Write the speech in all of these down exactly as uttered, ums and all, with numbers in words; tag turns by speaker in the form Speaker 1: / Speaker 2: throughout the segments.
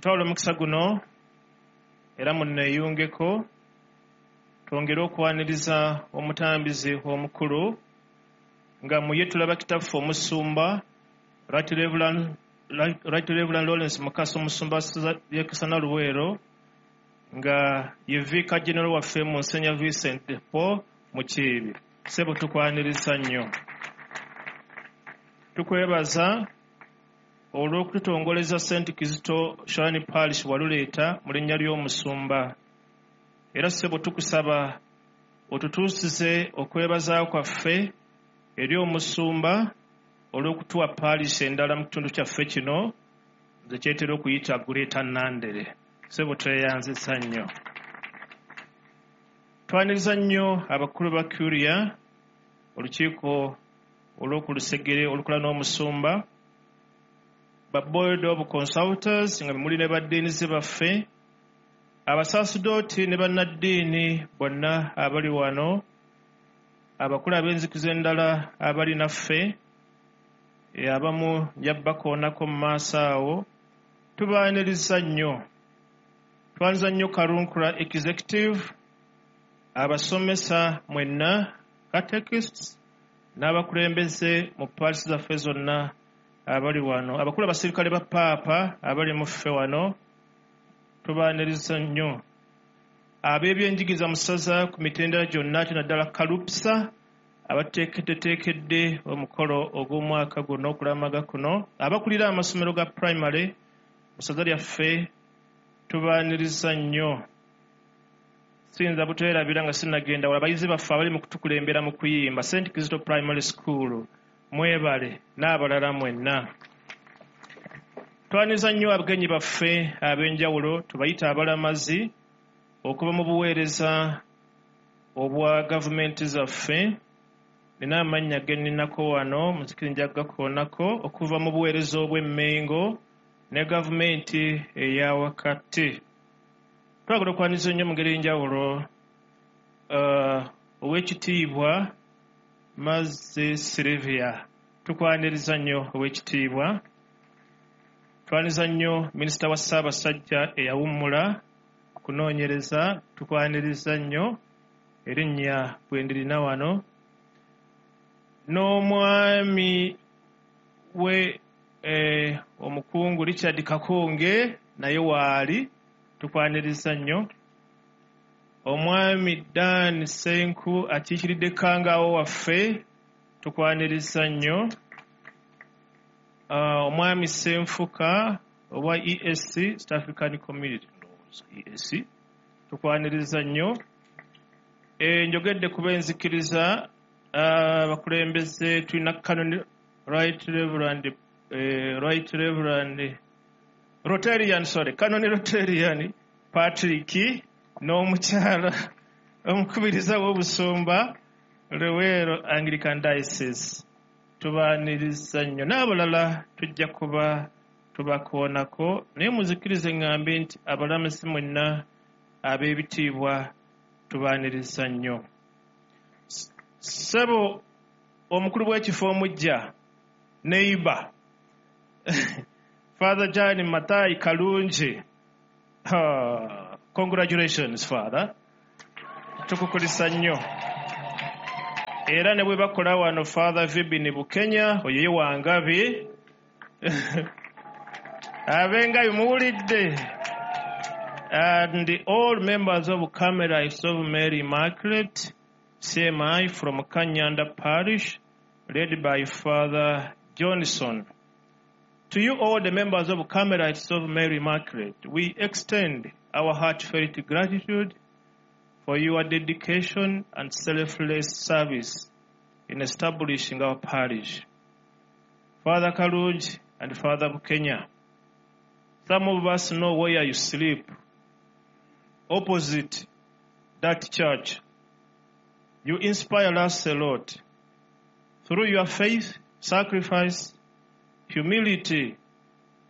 Speaker 1: Ntwala omukisa guno era munneeyungeko twongere okwaniriza omutambizi omukulu nga muye tulaba kitaffe omusumba Right Reverend Right Reverend Lawrence Mukasa, omusumba wa Kasana Luweero, nga ye Vicar General waffe Monsignor Vincent de Paul Mukiibi. Ssebo, tukwaniriza nnyo, tukwebaza olw'okututongoleza Saint Kizito Shrine Parish Waluleeta mu linnya ly'omusumba. Era ssebo, tukusaba otutuusize okwebaza kwaffe eri omusumba olw'okutuwa parish endala mu kitundu kyaffe kino nze kyetera okuyita Greater Nandere. Ssebo, tweyanzisa nnyo, twaniriza nnyo abakulu ba Curia, olukiiko olw'okulusegere olukola n'omusumba, ba board of consultants nga muli ne baddeenizi baffe, abasaasodooti ne bannaddiini bonna abali wano, abakulu ab'enzikiriza endala abali naffe, abamu nja bakoonako mu maaso awo. Tubaaniriza nnyo, twaniriza nnyo Karunkula Executive, abasomesa mwenna, catechists n'abakulembeze mu parish zaffe zonna abali wano, abakulu abasirikale ba Paapa abali mu ffe wano, tubaaniriza nnyo. Ab'ebyenjigiriza mu ssaza ku mitendera gyonna, ate naddala Kalupsa abateekeddeteekedde omukolo ogw'omwaka guno okulamaga kuno, abakulira amasomero ga primary mu ssaza lyaffe, tubaaniriza nnyo. Siyinza buteerabira nga sinnagenda wala abayizi baffe abali mu kutukulembera mu kuyimba, Saint Kizito Primary School, mwebale, n'abalala mwenna. Twaniriza nnyo abagenyi baffe ab'enjawulo, tubayita abalamazi okuva mu buweereza obwa gavumenti zaffe. Nina amannya ge nninako wano, muzikiri nja kugakoonako, okuva mu buweereza obw'Emmengo ne gavumenti eya wakati. Twagala okwaniriza ennyo mu ngeri y'enjawulo uh, Oweekitiibwa Mazzi Silvia, tukwaniriza nnyo Oweekitiibwa. Twaniriza nnyo Minisita wa Ssaabasajja eyawummula kunoonyereza, tukwaniriza nnyo, erinnya bwe ndirina wano, n'omwami we eh, omukungu Richard Kakonge naye waali, tukwaniriza nnyo. Omwami Dan Senku akiikiridde Kangaawo waffe, tukwaniriza nnyo. uh, omwami Senfuka owa E A C, East African Community, E A C, tukwaniriza nnyo. e, njogedde kuba enzikiriza abakulembeze, uh, tulina Canon Right Reverend eh, Right Reverend Rotarian, sorry, Canon Rotarian Patrick n'omukyala omukubiriza w'obusumba Luweero Anglican Diocese, tubaaniriza nnyo, n'abalala tujja kuba tubakoonako. Naye muzikirize ŋŋambe nti abalamuzi mwenna ab'ebitiibwa, tubaaniriza nnyo. Ssebo omukulu w'ekifo omujja, neighbor Father John Matai Kalungi, ah, congratulations Father, tukukulisa nnyo. Era ne bwe bakola wano Father Vibini Bukenya, oyo ye Wangabi, abengabi muwulidde, and all members of Carmelites of Mary Immaculate, C M I, from Kanyanda Parish, led by Father Johnson. To you all, the members of Carmelites of Mary Immaculate, we extend our heartfelt gratitude for your dedication and selfless service in establishing our parish. Father Kalungi and Father Bukenya, some of us know where you sleep, opposite that church. You inspire us a lot. Through your faith, sacrifice, humility,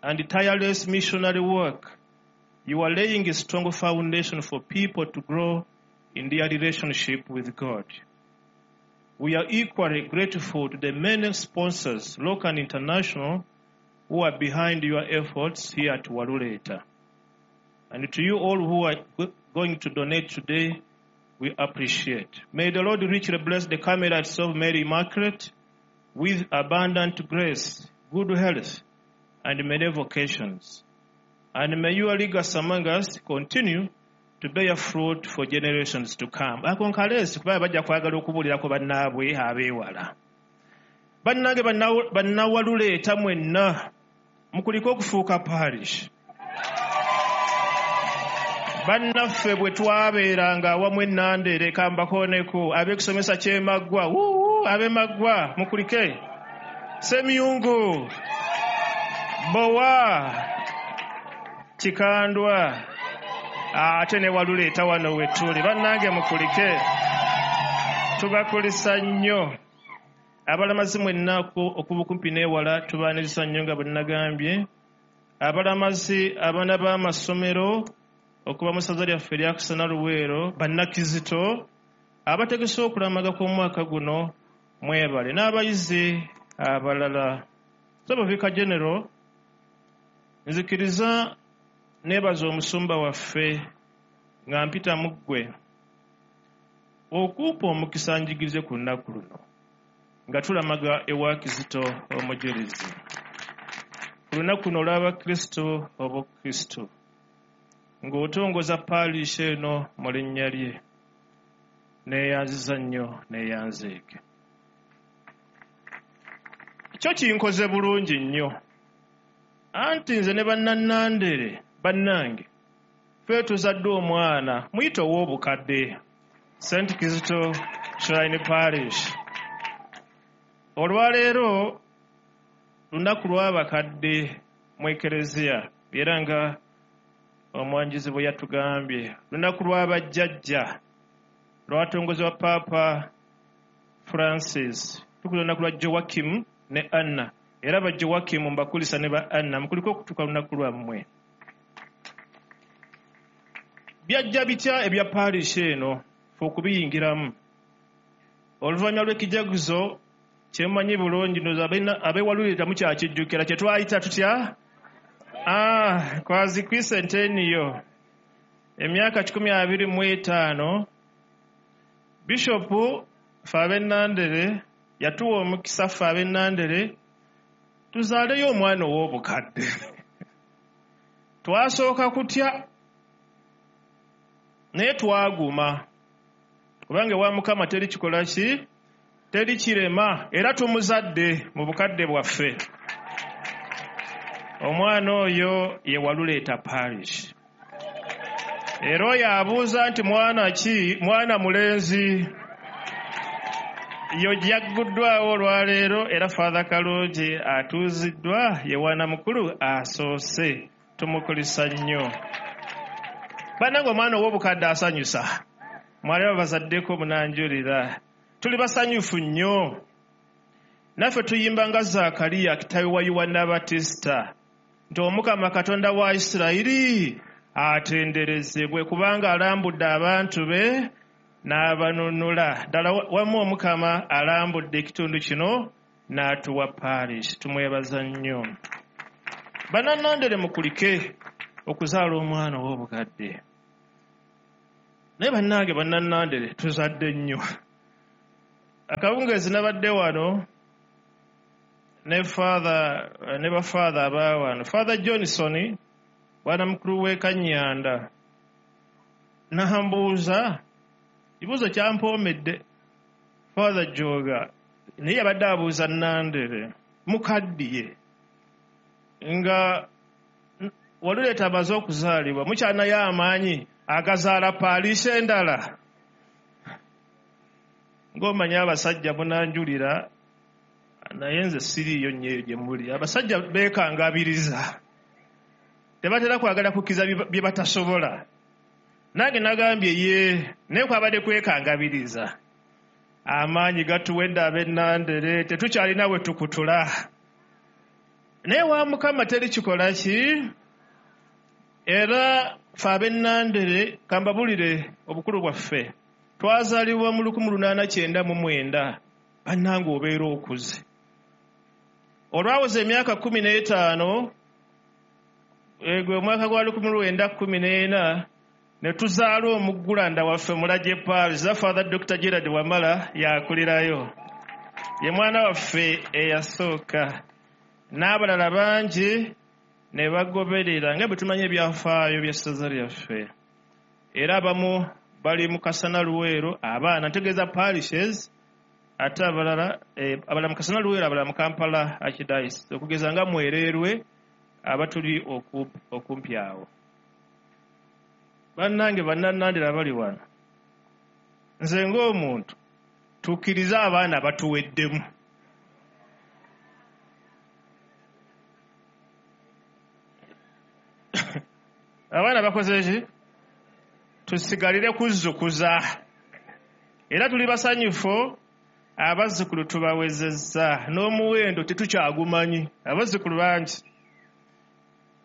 Speaker 1: and tireless missionary work, you are laying a strong foundation for people to grow in their relationship with God. We are equally grateful to the many sponsors, local and international, who are behind your efforts here at Waluleta. And to you all who are going to donate today, we appreciate. May the Lord richly bless the Carmelites of Mary Immaculate with abundant grace, good health, and many vocations. And may your legacy among us continue to bear fruit for generations to come. Ako nkaleesi kuba bajja kwagala okubuulirako bannaabwe abeewala. Bannange bannawaluleeta mwenna mukulike okufuuka parish. Bannaffe bwe twabeeranga awamu ennandere kambakooneko ab'ekusomesa ky'emaggwa wuu ab'emaggwa mukulike Semyungu Bowa Kikandwa ate ne Waluleeta wano we tuli. Bannange mukulike, tubakulisa nnyo. Abalamazi mwenna okuba okumpi n'ewala tubaaniriza nnyo nga bwe nagambye. Abalamazi abaana b'amasomero okuva mu ssaza lyaffe erya Kasana Luweero, bannakizito abategese okulamaga kw'omwaka guno mwebale, n'abayizi abalala. Ssabaviika General, nzikiriza neebaza omusumba waffe nga mpita mu ggwe okumpa omukisa njigirize ku lunaku luno nga tulamaga ewa Kizito omujulizi ku lunaku luno olw'Abakristo obukristo ng'otongoza parish eno mu linnya lye. Neeyanziza nnyo, neeyanzeeke. Kyo kinkoze bulungi nnyo, anti nze ne bannannandere bannange ffe tuzadde omwana muyite ow'obukadde Saint Kizito Shrine Parish. Olwaleero lunaku lw'abakadde mu Ekereziya, era nga omwanjizi bwe yatugambye, lunaku lw'abajjajja lwatongozebwa Paapa Francis. Tukula lunaku lwa Joachim ne Anna, era ba Joachim mbakulisa ne ba Anna mukuliko okutuuka lunaku lwammwe. Byajja bitya ebya parish eno fe okubiyingiramu? Oluvannyuma lw'ekijaguzo kyemumanyi bulungi, ndowooza ab'ewalulira mukyakijjukira kye twayita tutya? Ah, kwazi kwisenteniyo emyaka kikumi abiri mu etaano, Bishopu ffe ab'ennandere yatuwa omukisa ffe ab'ennandere tuzaaleyo omwana ow'obukadde. Twasooka kutya naye twaguma, kubanga ewa Mukama teri kikola ki, teri kirema, era tumuzadde mu bukadde bwaffe. Omwana oyo ye Waluleeta Parish. Era oyo abuuza nti mwana ki? Mwana mulenzi. Yo gyagguddwawo olwaleero, era Father Kalungi atuuziddwa ye wana mukulu asoose, tumukulisa nnyo. Bannange omwana ow'obukadde asanyusa, mwali babazaddeko munanjulira, tuli basanyufu nnyo. Naffe tuyimba nga Zaakaliya kitaawe wa Yowanna Batista nti Omukama Katonda wa Isirayiri atenderezebwe kubanga alambudde abantu be n'abanunula. Ddala wamu Omukama alambudde ekitundu kino n'atuwa parish, tumwebaza nnyo. Bannannandere mukulike okuzaala omwana ow'obukadde. Naye bannange bannannandere tuzadde nnyo. Akawungeezi nabadde wano ne father ne bafather aba wano, Father Johnson bwana mukulu w'e Kanyanda, n'ambuuza kibuuzo kyampoomedde. Father Joga naye yabadde abuuza Nandere mukaddiye nga Waluleeta amaze okuzaalibwa, mukyanayo amaanyi agazaala parish endala. Ng'omanyi abasajja munanjulira, naye nze siriiyo nnyo eyo gye muli. Abasajja beekangabiriza, tebatera kwagala kukkiriza bye batasobola. Nange nagambye ye, naye kwabadde kwekangabiriza. Amaanyi gatuwedde ab'ennandere, tetukyalina we tukutula. Naye wa Mukama teri kikola ki? Era ffe ab'ennandere kambabulire obukulu bwaffe. Twazaalibwa mu lukumi lunaana kyenda mu mwenda, bannange obeera okuze. Olwaweza emyaka kkumi n'etaano, Gwe omwaka gwa lukumi lwenda kkumi n'ena ne tuzaala omuggulanda waffe Mulage Parish, Father Doctor Gerard Wamala yakulirayo, ye mwana waffe eyasooka, n'abalala bangi ne bagoberera nga bwe tumanyi ebyafaayo by'essaza lyaffe. Era abamu bali mu Kasana Luweero, abaana ntegeeza parishes, ate abalala abalala mu Kasana Luweero, abalala mu Kampala Archdiocese, okugeza nga Mwererwe abatuli okumpi awo. Bannange bannannandira bali wano, nze ng'omuntu tukkirize abaana batuweddemu. Abaana bakoze ki? Tusigalire kuzzukuza. Era tuli basanyufu, abazzukulu tubawezezza n'omuwendo tetukyagumanyi, abazzukulu bangi,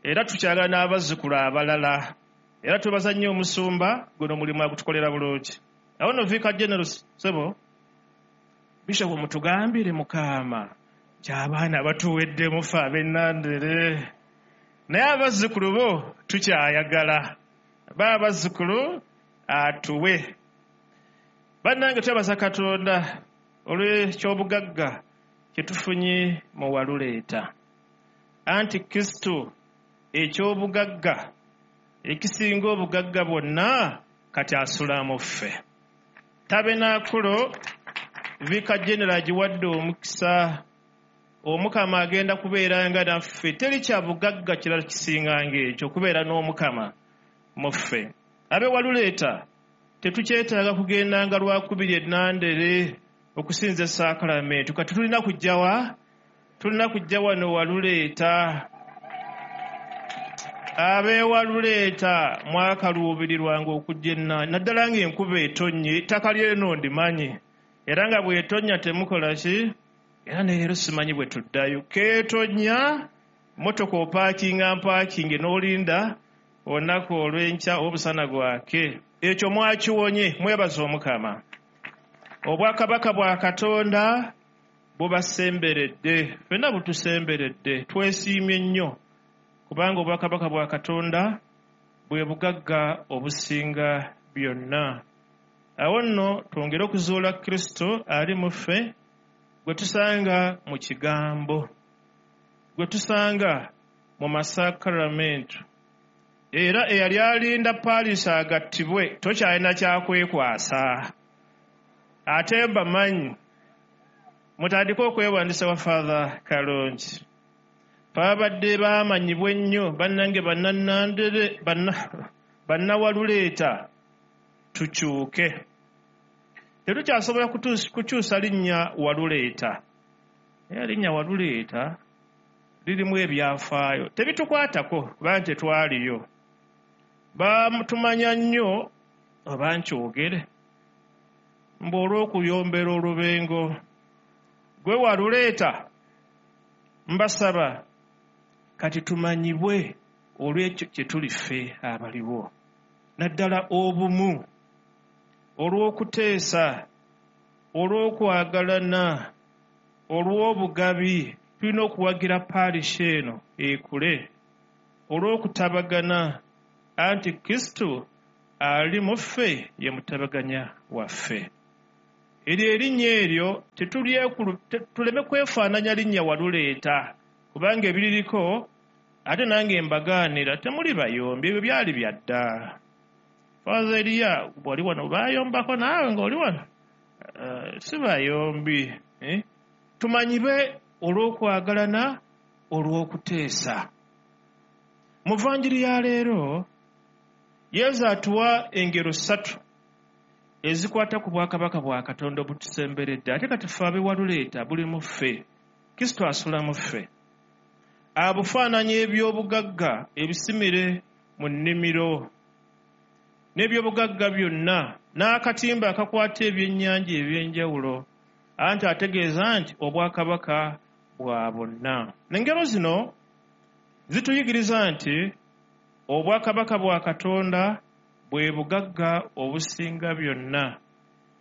Speaker 1: era tukyagala n'abazzukulu abalala. Era tubaza nnyo omusumba guno omulimu agutukolera bulungi. Awo nno Vicar General ssebo, Bishop mutugambire Mukama nti abaana batuweddemu ffe ab'Ennandere, naye abazzukulu bo tukyayagala, ba abazzukulu atuwe. Bannange twebaza Katonda olw'ekyobugagga kye tufunye mu Waluleeta. Anti Kristo ekyobugagga ekisinga obugagga bwonna kati asula mu ffe. Tabenaakulo Vicar General agiwadde omukisa, Omukama agenda kubeeranga naffe. Teri kya bugagga kirala kisinga ng'ekyo, okubeera n'Omukama mu ffe. Abe Waluleeta tetukyetaaga kugendanga lwakubiri Ennandere okusinza esaakalamentu. Kati tulina kujja wa? Tulina kujja wano Waluleeta. Abe Waluleeta mwakaluubirirwanga okujja Ennandere, naddala ng'enkuba etonnye, ettaka ly'eno ndimanyi, era nga bw'etonnya temukola ki? Era ne leero simanyi bwe tuddayo. Keetonnya, mmotoka opaakinga mpaakinge n'olinda olunaku olw'enkya obusana gwake. Ekyo mwakiwonye, mwebaze Omukama. Obwakabaka bwa Katonda bubasemberedde, ffenna butusemberedde, twesiimye nnyo kubanga obwakabaka bwa Katonda bwe bugagga obusinga byonna. Awo nno twongere okuzuula Kristo ali mu ffe, gwe tusanga mu kigambo, gwe tusanga mu masakramentu. Era eyali alinda Parish agattibwe tokyalina kyakwekwasa. Ate mbamanyi mutandike okwewandisa wa Father Kalongi. Babadde baamanyibwa ennyo bannange bannannandere bannawaluleeta, tukyuke. Tetukyasobola kukyusa linnya Waluleeta. Era linnya Waluleeta lirimu ebyafaayo, tebitukwatako kubanga tetwaliyo. Batumanya nnyo oba nkyogere mbu olw'okuyombera olubengo. Gwe Waluleeta mbasaba kati tumanyibwe olw'ekyo kye tuli ffe abaliwo, naddala obumu, olw'okuteesa, olw'okwagalana, olw'obugabi. Tulina okuwagira parish eno ekule, olw'okutabagana, anti Kristo ali mu ffe ye mutabaganya waffe. Eryo erinnya eryo tuleme kwefaananya linnya Waluleeta, kubanga ebiririko ate nange mbagaanira temuli bayombi, ebyo byali bya dda. Father Elia bw'oli wano bayombako naawe ng'oli wano, uh, si bayombi, eh? Tumanyibe olw'okwagalana, olw'okuteesa. Mu vanjiri ya leero Yesu atuwa engero ssatu ezikwata ku bwakabaka bwa Katonda obutusemberedde. Ate kati ffe ab'e Waluleeta buli mu ffe, Kristo asula mu ffe. Abufaananya ebyobugagga ebisimire mu nnimiro n'ebyobugagga byonna n'akatimba akakwata ebyennyanja ebyenjawulo, anti ategeeza nti obwakabaka bwa bonna. Engero zino zituyigiriza nti obwakabaka bwa Katonda bwe bugagga obusinga byonna,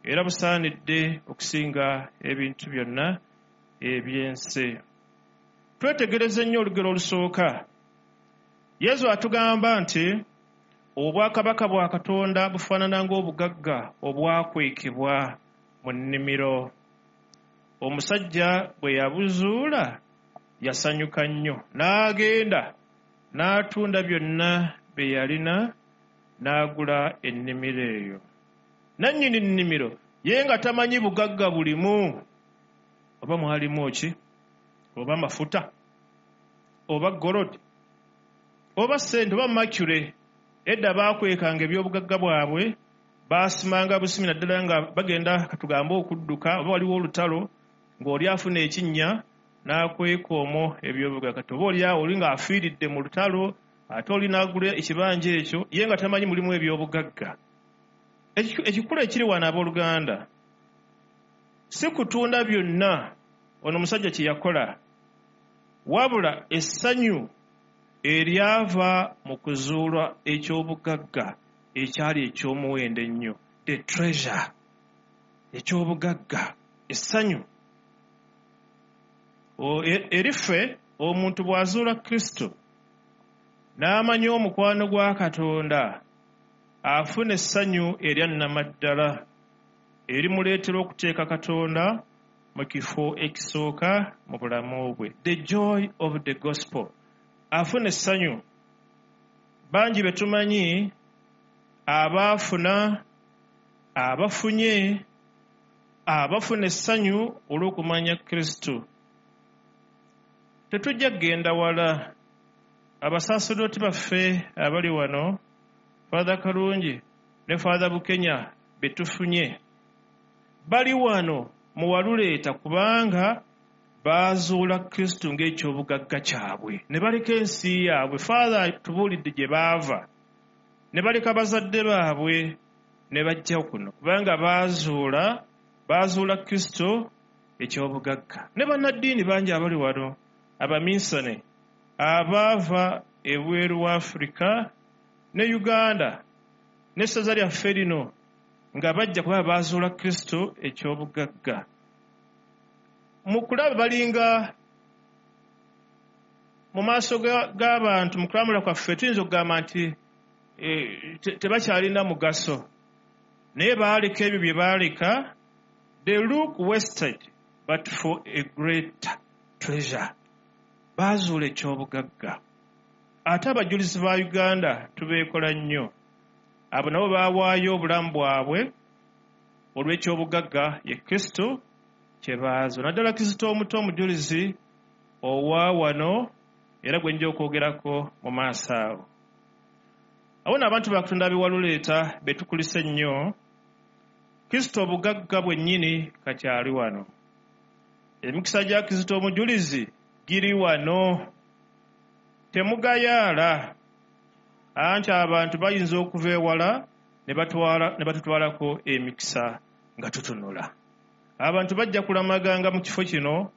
Speaker 1: era busaanidde okusinga ebintu byonna eby'ensi. Twetegereze nnyo olugero olusooka. Yesu atugamba nti obwakabaka bwa Katonda bufaanana ng'obugagga obwakwekebwa mu nnimiro. Omusajja bwe yabuzuula yasanyuka nnyo, n'agenda n'atunda byonna bye yalina n'agula ennimiro eyo. Nannyini nnimiro ye nga tamanyi bugagga bulimu, oba mwalimu ki, oba mafuta, oba golodi, oba ssente, oba mercury. Edda baakwekanga ebyobugagga bwabwe, baasimanga busimi naddala nga bagenda katugambe okudduka, oba waliwo olutalo ng'oli afuna ekinnya n'akweka omwo ebyobugagga. Kati oba oli awo oli ng'afiiridde mu lutalo, ate oli n'agula ekibanja ekyo ye nga tamanyi mulimu ebyobugagga. Ekikulu ekiri wano abooluganda si kutunda byonna ono omusajja kye yakola, wabula essanyu eryava mu kuzuula ekyobugagga ekyali eky'omuwendo ennyo, the treasure, ekyobugagga, essanyu. Eriffe omuntu bw'azuula Kristo n'amanya omukwano gwa Katonda, afuna essanyu erya nnamaddala erimuleetera okuteeka Katonda mu kifo ekisooka mu bulamu bwe. The joy of the gospel. Afuna essanyu. Bangi be tumanyi abaafuna, abafunye, abafuna essanyu olw'okumanya Kristo. Tetujja kugenda wala. Abasaaserdooti baffe abali wano, Father Kalungi ne Father Bukenya be tufunye, bali wano mu Waluleeta kubanga baazuula Kristo ng'ekyobugagga kyabwe, ne baleka ensi yaabwe. Father tubuulidde gye baava, ne baleka bazadde baabwe ne bajja kuno kubanga baazuula baazuula Kristo ekyobugagga. Ne bannaddiini bangi abali wano, abaminsane abaava ebweru wa Afrika ne Uganda n'essaza lyaffe lino nga bajja kuba baazuula Kristo ekyobugagga. Mu kulaba balinga mu maaso g'abantu, mu kulamula kwaffe tuyinza okugamba nti tebakyalina mugaso, naye baaleka ebyo bye baaleka. They look wasted but for a great treasure. Baazuula ekyobugagga. Ate abajulizi ba Uganda tubeekola nnyo. Abo nabo baawaayo obulamu bwabwe olw'ekyobugagga ye Kristo kye baazuula. Naddala Kristo omuto omujulizi owa wano, era gwe nja okwogerako mu maaso awo. Awo nno abantu ba Katonda ab'e Waluleeta be tukulisa ennyo, Kristo obugagga bwennyini kakyali wano. Emikisa gya Kristo omujulizi giri wano. Temugayaala, anti abantu bayinza okuva ewala ne batutwalako emikisa nga tutunula. Abantu bajja kulamaganga mu kifo kino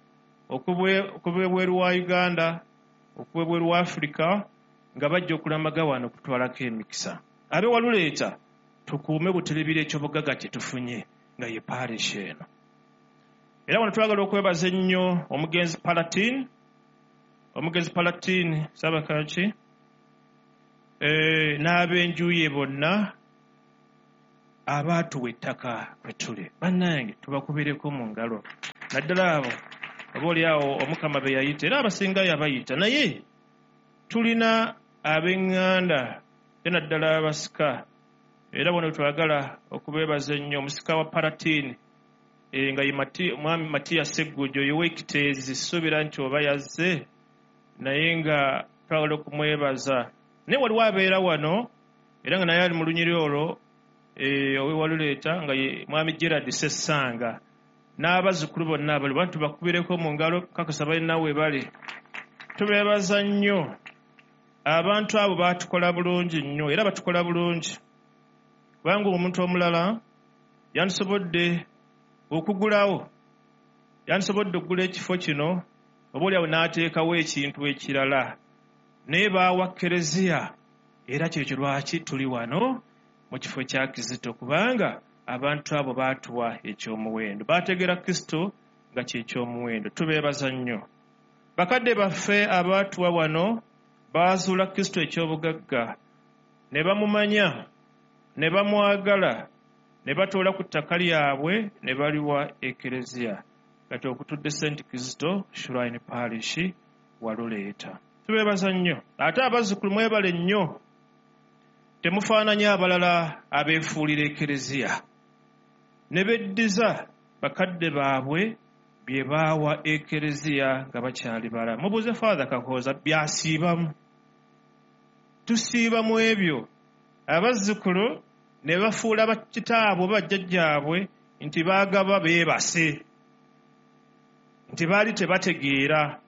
Speaker 1: okuva ebweru wa Uganda, okuva ebweru wa Afrika, nga bajja okulamaga wano okutwalako emikisa. Ab'e Waluleeta tukuume buterebire ekyobugagga kye tufunye nga ye parish eno. Era wano twagala okwebaza ennyo omugenzi Palatine, omugenzi Palatine Sabakaki, n'ab'enju ye bonna abaatuwa ettaka kwe tuli. Bannange tubakubireko mu ngalo, naddala abo oba oli awo Omukama be yayita, era abasinga yabayita. Naye tulina ab'eŋŋanda era naddala abasika, era wano twagala okubeebaza ennyo omusika wa Palatine nga ye Mwami Matiya Sseggujo ow'Ekiteezi, suubira nti oba yazze, naye nga twagala okumwebaza. Naye waliwo abeera wano era nga naye ali mu lunyiriri olwo ow'e Waluleeta nga ye Mwami Gerard Ssessanga n'abazzukulu bonna abali bantu bakubireko mu ngalo, kakasa balina we bali. Tubeebaza nnyo. Abantu abo baatukola bulungi nnyo era batukola bulungi, kubanga omuntu omulala yandisobodde okugulawo, yandisobodde okugula ekifo kino oba oli awo n'ateekawo ekintu ekirala, naye baawa Kereziya. Era kyekyo lwaki tuli wano mu kifo kya Kristo, kubanga abantu abo baatuwa ekyomuwendo, baategeera Kristo nga kye kyomuwendo. Tubeebaza nnyo. Bakadde baffe abaatuwa wano Baazuula Kristo eky'obugagga, ne bamumanya, ne bamwagala, ne batoola ku ttaka lyabwe ne baliwa Ekereziya. Kati okutudde Saint Kizito Shrine Parish waluleeta. Tubeebaza nnyo. Ate abazzukulu mwebale nnyo. Temufaananya abalala abeefuulira Ekereziya. Ne beddiza bakadde baabwe bye baawa Ekereziya nga bakyali balamu. Mubuuze Father Kakooza byasiibamu. Tusiiba mu ebyo. Abazzukulu ne bafuula bakitaabwe bajjajjaabwe nti baagaba beebase. Nti baali tebategeera.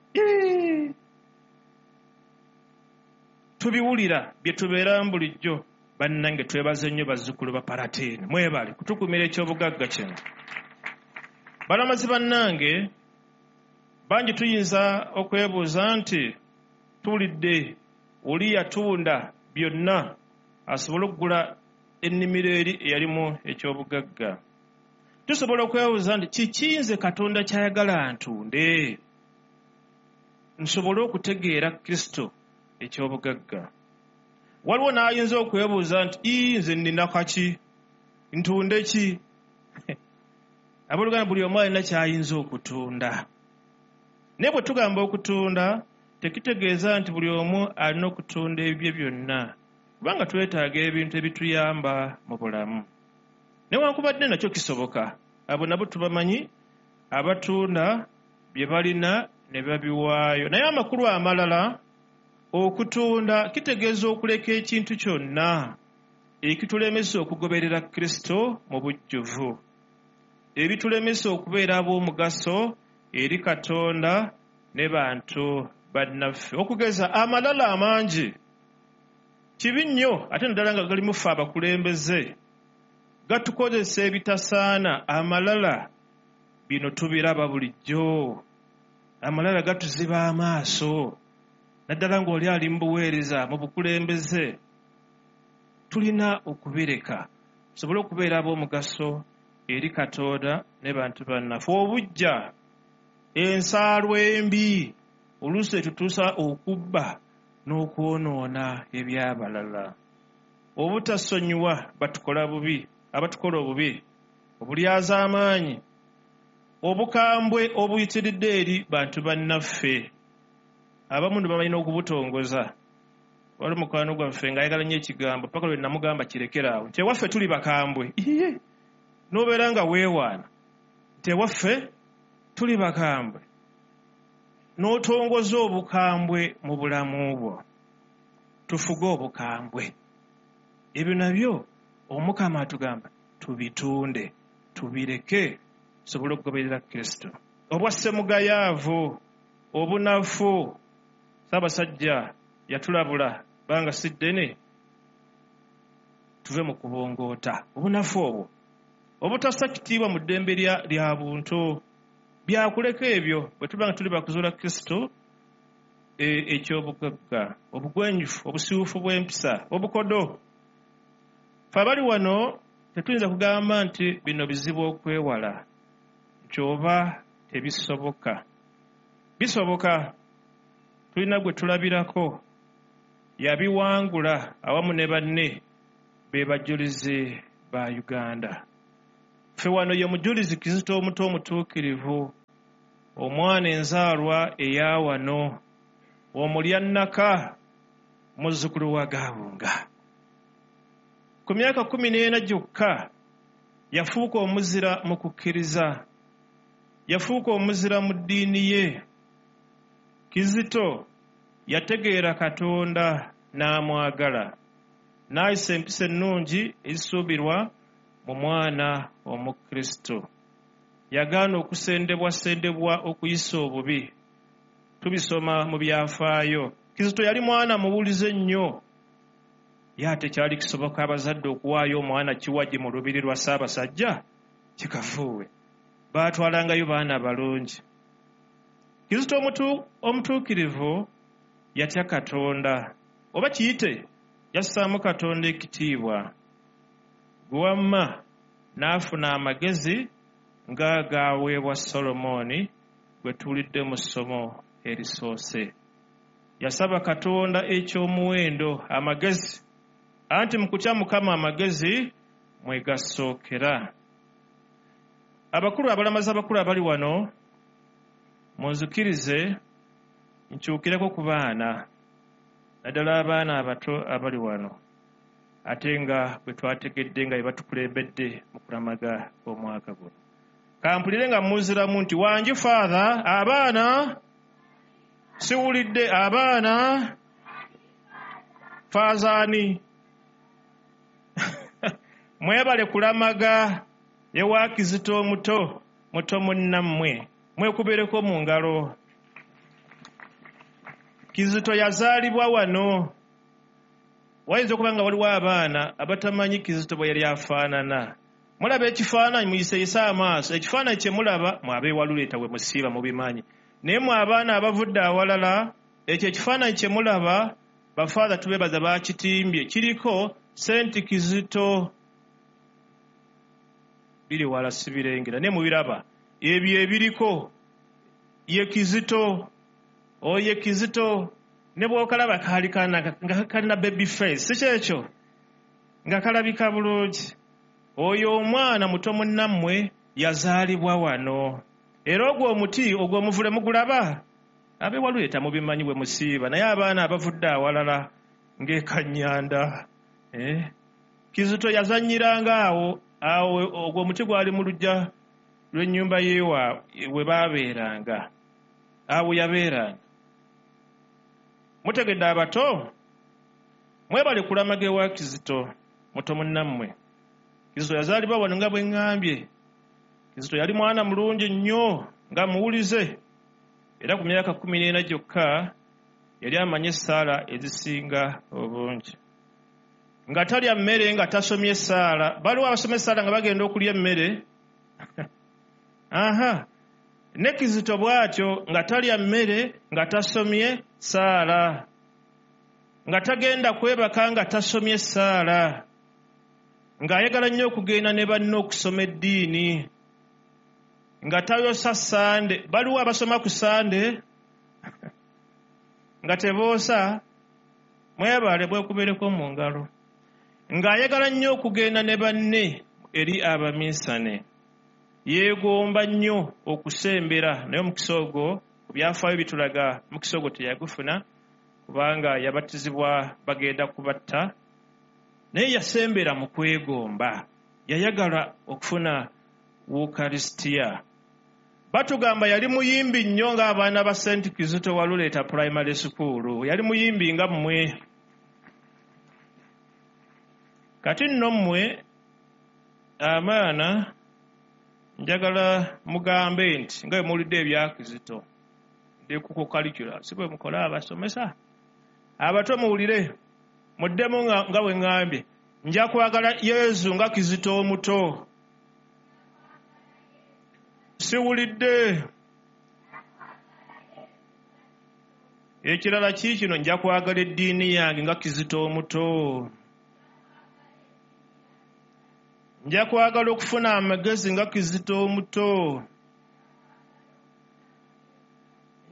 Speaker 1: Tubiwulira bye tubeeramu bulijjo. Bannange twebaze nnyo bazzukulu ba Palatine. Mwebale kutukumira eky'obugagga kino. Balamazi bannange, bangi tuyinza okwebuuza nti tuwulidde oli yatunda byonna asobole okugula ennimiro eri eyalimu eky'obugagga. Tusobola okwebuuza nti kiki nze Katonda ky'ayagala ntunde nsobole okutegeera Kristo eky'obugagga. Waliwo n'ayinza okwebuuza nti ii nze nnina kaki, ntunde ki? Abooluganda buli omu alina ky'ayinza okutunda. Naye bwe tugamba okutunda tekitegeeza nti buli omu alina okutunda ebibye byonna, kubanga twetaaga ebintu ebituyamba mu bulamu. Newankubadde nakyo kisoboka, abo nabo tubamanyi abatunda bye balina ne babiwaayo. Naye amakulu amalala, okutunda kitegeeza okuleka ekintu kyonna ekitulemesa okugoberera Kristo mu bujjuvu, ebitulemesa okubeera ab'omugaso eri Katonda ne bantu bannaffe. Okugeza amalala amangi kibi nnyo, ate naddala nga galimu ffe abakulembeze, gatukozesa ebitasaana. Amalala bino tubiraba bulijjo. Amalala gatuziba amaaso, naddala ng'oli ali mu buweereza mu bukulembeze. Tulina okubireka tusobole okubeera ab'omugaso eri Katonda ne bantu bannaffe. Obuggya, ensaalwa embi oluusi etutuusa okubba n'okwonoona eby'abalala. Obutasonyiwa batukola bubi, abatukola obubi, obulyazaamaanyi, obukambwe obuyitiridde eri bantu bannaffe. Abamu ne babalina okubutongoza. Wali mukwano gwaffe ng'ayagala nnyo ekigambo paka lwe namugamba kirekeraawo nti ewaffe tuli bakambwe. Iye, n'obeera nga weewaana nti ewaffe tuli bakambwe, n'otongoza obukambwe mu bulamu bwo. Tufuge obukambwe. Ebyo nabyo Omukama atugamba tubitunde, tubireke tusobole okugoberera Kristo. Obwa ssemugayaavu, obunafu, Ssaabasajja yatulabula banga si ddene tuve mu kubongoota. Obunafu obwo, obutassa kitiibwa mu ddembe lya buntu, byakuleka ebyo bwe tuba nga tuli bakuzuula Kristo eky'obugagga, obugwenjufu, obusiwuufu bw'empisa, obukodo. Ffe abali wano tetuyinza kugamba nti bino bizibu okwewala, nti oba tebisoboka. Bisoboka. Tulina gwe tulabirako yabiwangula awamu ne banne be bajulizi ba Uganda. Ffe wano ye mujulizi Kizito omuto omutuukirivu, omwana enzaalwa eya wano, omulyannaka, muzzukulu wa Gabunga. Ku myaka kkumi n'ena gyokka yafuuka omuzira mu kukkiriza, yafuuka omuzira mu ddiini ye. Kizito yategeera Katonda n'amwagala, n'ayisa empisa ennungi ezisuubirwa mu mwana Omukristo. Yagaana okusendebwasendebwa okuyisa obubi. Tubisoma mu byafaayo. Kizito yali mwana muwulize nnyo. Ye ate kyali kisoboka abazadde okuwaayo omwana kiwagi mu lubiri lwa Ssaabasajja kikafuuwe. Baatwalangayo baana balungi. Kizito omutuukirivu yatya Katonda, oba kiyite yassaamu Katonda ekitiibwa. Gwe wamma n'afuna amagezi nga gaaweebwa Solomooni gwe tuwulidde mu ssomo erisoose. Yasaba Katonda eky'omuwendo, amagezi. Anti mu kutya Mukama amagezi mwe gasookera. Abakulu, abalamazi abakulu abali wano, munzikirize nkyukireko ku baana, naddala abaana abato abali wano, ate nga bwe twategedde nga bye batukulembedde mu kulamaga omwaka guno. Kampulire nga muziramu nti wangi Father, abaana siwulidde, abaana faazaani. Mwebale kulamaga ewa Kizito omuto, muto munnammwe, mwekubereko mu ngalo. Kizito yazaalibwa wano. Wayinza okuba nga waliwo abaana abatamanyi Kizito bwe yali afaanana. Mulaba ekifaananyi, muyiseyise amaaso. Ekifaananyi kye mulaba, mwe abeewaluleeta we musiiba mubimanyi. Naye mwe abaana abavudde awalala, ekyo ekifaananyi kye mulaba, bafaatha tubeebaza baakitimbye. Kiriko Senti Kizito. Biri wala sibirengera, naye mubiraba. Ebyo ebiriko ye Kizito, oye Kizito. Ne bw'okalaba kaali kaana nga kalina baby face, si kyekyo? Nga kalabika bulungi. Oyo omwana muto munnammwe yazaalibwa wano. Era ogwo omuti, ogwo omuvule mugulaba? Ab'ewaluleeta mubimanyi bwe musiiba, naye abaana abavudde awalala ng'ekanyanda. Eh? Kizito yazannyiranga awo, awo ogwo omuti gwali mu luggya lw'ennyumba yeewa we baabeeranga. Awo yabeeranga. Mutegedde abato? Mwebale kulamaga ewa Kizito, muto munnammwe. Kizito yazaalibwa wano nga bwe ŋŋambye. Kizito yali mwana mulungi nnyo nga muwulize. Era ku myaka kkumi n'ena gyokka yali amanyi essaala ezisinga obungi. Nga talya mmere nga tasomye essaala. Baliwo abasoma essaala nga bagenda okulya emmere. Aha. Ne Kizito bw'atyo nga talya mmere nga tasomye ssaala. Nga tagenda kwebaka nga tasomye ssaala. Ng'ayagala nnyo okugenda ne banne okusoma eddiini. Nga tayosa Sande. Baliwo abasoma ku Sande nga teboosa, mwebale bwekubereko mu ngalo. Ng'ayagala nnyo okugenda ne banne eri abaminsane. Yeegomba nnyo okusembera, naye omukisa ogwo ku byafaayo bitulaga omukisa ogwo teyagufuna kubanga yabatizibwa bagenda kubatta. Naye yasembera mu kwegomba, yayagala okufuna Ukaristia. Batugamba yali muyimbi nnyo ng'abaana ba Saint Kizito Waluleeta Primary School. Yali muyimbi nga mmwe. Kati nno mmwe abaana njagala mugambe nti nga bwe muwulidde ebya Kizito, ndi ku curriculum, si bwe mukola abasomesa? Abato muwulire, muddemu nga bwe ŋŋambye. Nja kwagala Yesu nga Kizito omuto. Siwulidde. Ekirala kiikino, nja kwagala eddiini yange nga Kizito omuto. Nja kwagala okufuna amagezi nga Kizito omuto.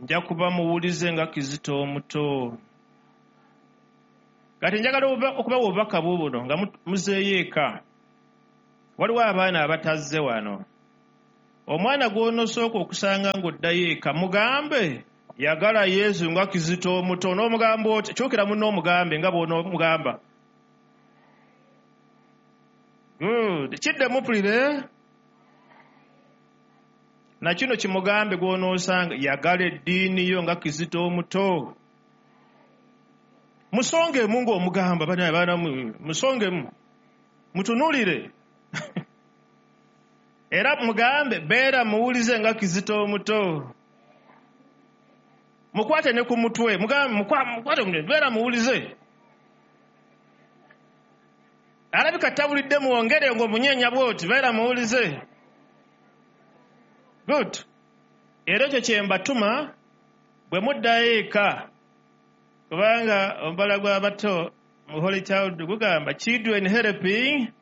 Speaker 1: Nja kuba muwulize nga Kizito omuto. Kati njagala okubawa obubaka buubuno nga muzeeyo eka. Waliwo abaana abatazze wano. Omwana gw'onosooka okusanga ng'oddayo eka, mugambe yagala Yesu nga Kizito omuto. N'omugamba oti, kyukira munno omugambe nga bw'onoomugamba. Good. Kiddemu mpulire. Na kino kimugambe gw'onoosanga, yagala eddiini yo nga Kizito omuto. Musongemu ng'omugamba, baana musongemu. Mutunuulire. Era mugambe beera muwulize nga Kizito omuto. Mukwate ne ku mutwe, mugambe mukwate beera muwulize. Alabika tabulidde muwongere ng'omunyeenya bw'oti, beera muwulize. Good. Era ekyo kye mbatuma bwe muddayo eka, kubanga omubala gw'abato mu Holy Child gugamba children helping.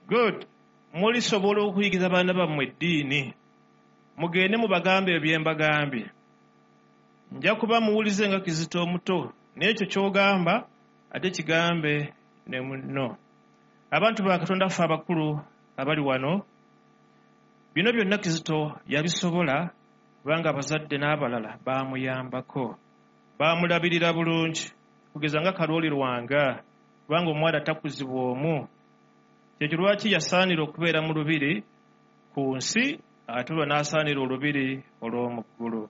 Speaker 1: Good. Mulisobola okuyigiza abaana bammwe eddiini. Mugende mubagambe ebyo bye mbagambye. Nja kuba muwulize nga Kizito omuto, n'ekyo ky'ogamba ate kigambe ne munno. Abantu ba Katonda ffe abakulu abali wano, bino byonna Kizito yabisobola kubanga abazadde n'abalala baamuyambako, baamulabirira bulungi, kugeza nga Kalooli Lwanga, kubanga omwana takuzibwa omu. Kyekyo lwaki yasaanira okubeera mu lubiri ku nsi, ate olwo n'asaanira olubiri olw'omu ggulu.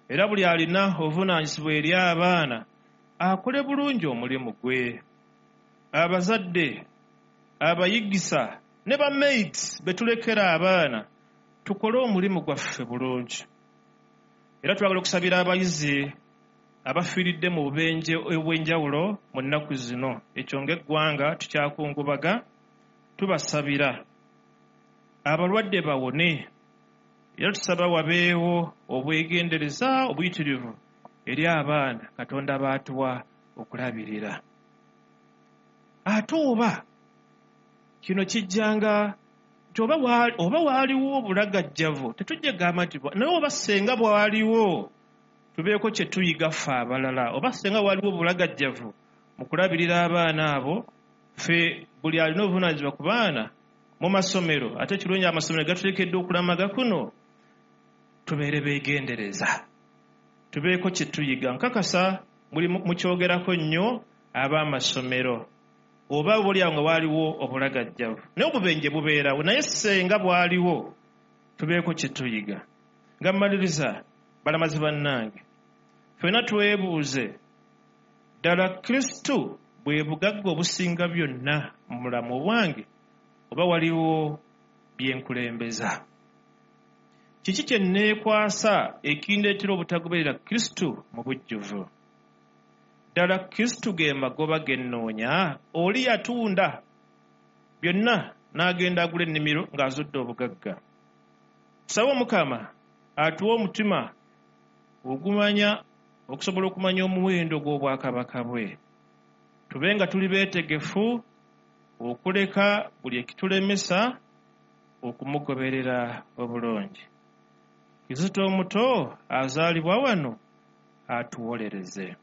Speaker 1: Era buli alina obuvunaanyizibwa eri abaana akole bulungi omulimu gwe. Abazadde, abayigisa ne ba mates be tulekera abaana, tukole omulimu gwaffe bulungi. Era twagala okusabira abayizi abafiiridde mu bubenje obw'enjawulo mu nnaku zino. Ekyo ng'eggwanga tukyakungubaga, tubasabira abalwadde bawone. Era tusaba wabeewo obwegendereza obuyitirivu eri abaana Katonda baatuwa okulabirira. Ate oba kino kijjanga nti oba oba waaliwo obulagajjavu, tetujja gamba nti naye oba ssenga bwaliwo tubeeko kye tuyiga ffe abalala. Oba ssenga waaliwo obulagajjavu mu kulabirira abaana abo, ffe buli alina obuvunaanyizibwa ku baana mu masomero, ate kirungi amasomero gatulekedde okulamaga kuno, tubeere beegendereza, tubeeko kye tuyiga. Nkakasa muli mukyogerako nnyo ab'amasomero, oba buli awo nga waaliwo obulagajjavu, naye obubenje bubeerawo, naye ssenga bwaliwo tubeeko kye tuyiga. Nga mmaliriza, balamazi bannange, ffenna twebuuze ddala Kristo bwe bugagga obusinga byonna mu bulamu bwange, oba waliwo bye nkulembeza? Kiki kye nneekwasa ekindeetera obutagoberera Kristo mu bujjuvu? Ddala Kristo ge magoba ge nnoonya? Oli yatunda byonna n'agenda agula ennimiro ng'azudde obugagga. Tusabe Omukama atuwe omutima ogumanya okusobola okumanya omuwendo gw'obwakabaka bwe. Tube nga tuli beetegefu okuleka buli ekitulemesa okumugoberera obulungi. Kizito omuto azaalibwa wano atuwolereze.